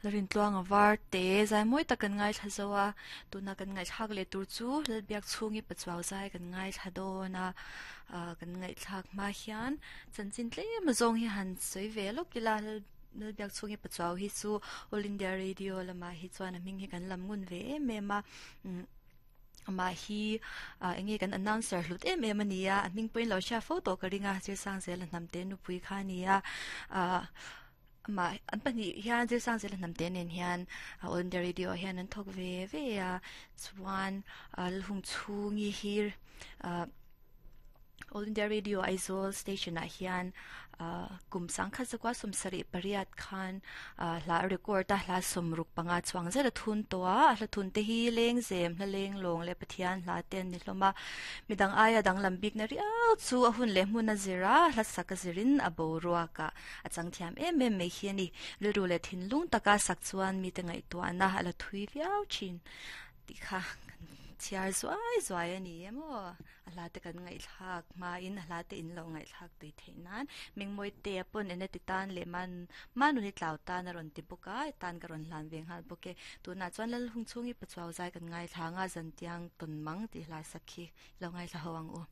Lalrintluanga var te zai mawi tak kan ngaithla zo a, tuna kan ngaihthlak leh tur chu Lalbiak chhungi pachuau zai kan ngaithla dawn a, ah kan ngaihthlak hma hian chanchin tlem azawng hi han sawi ve lawk ila Lalbiak chhungi pachuau hi chu All India Radio lamah hi chuan a hming hi kan lam ngun ve em em a umm amah hi ah eng nge kan announcer hlut em em a ni a, a hming pawhin lo hria fo tawh ka ring a, Zirsangzela hnamte nupui kha a ni a ah. Amah an pahnih hian Zirsangzela hnamte nen hian All India Radio ah hian an thawk ve ve a chuan Lalhung chhungi hi All India Radio Aizawl station ah hian kum sangkhat zakua 78 khan hla a record a hla 65 chuang zet a thun tawh a a hla thun te hi lengzem hla leng lawng leh Pathian hla te an ni hlawm a midang aia danglam bikna riau chu a hun leh hmun a zir a hla sak a zirin a boruak ah A chang thiam em em mai hi a ni. Rilru leh thinlung taka sak chuan mite ngaihtuahna a la thui viau thin tih kha kan chhiar zuai zuai a ni em aw. A hla te kan ngaihthlak hmain a hla te in lo ngaihthlak tui theih nan Mengmawi te a pawn ena ti tan leh man Manuni tlau tan a rawn ti bawk a, tan ka rawn hlan ve nghal bawk e. Tunah chuan Lalhung chhungi Pachuau zai kan ngaithla ang a, Zantiang tawn mang tih hla sak hi lo ngaithla ho ang u.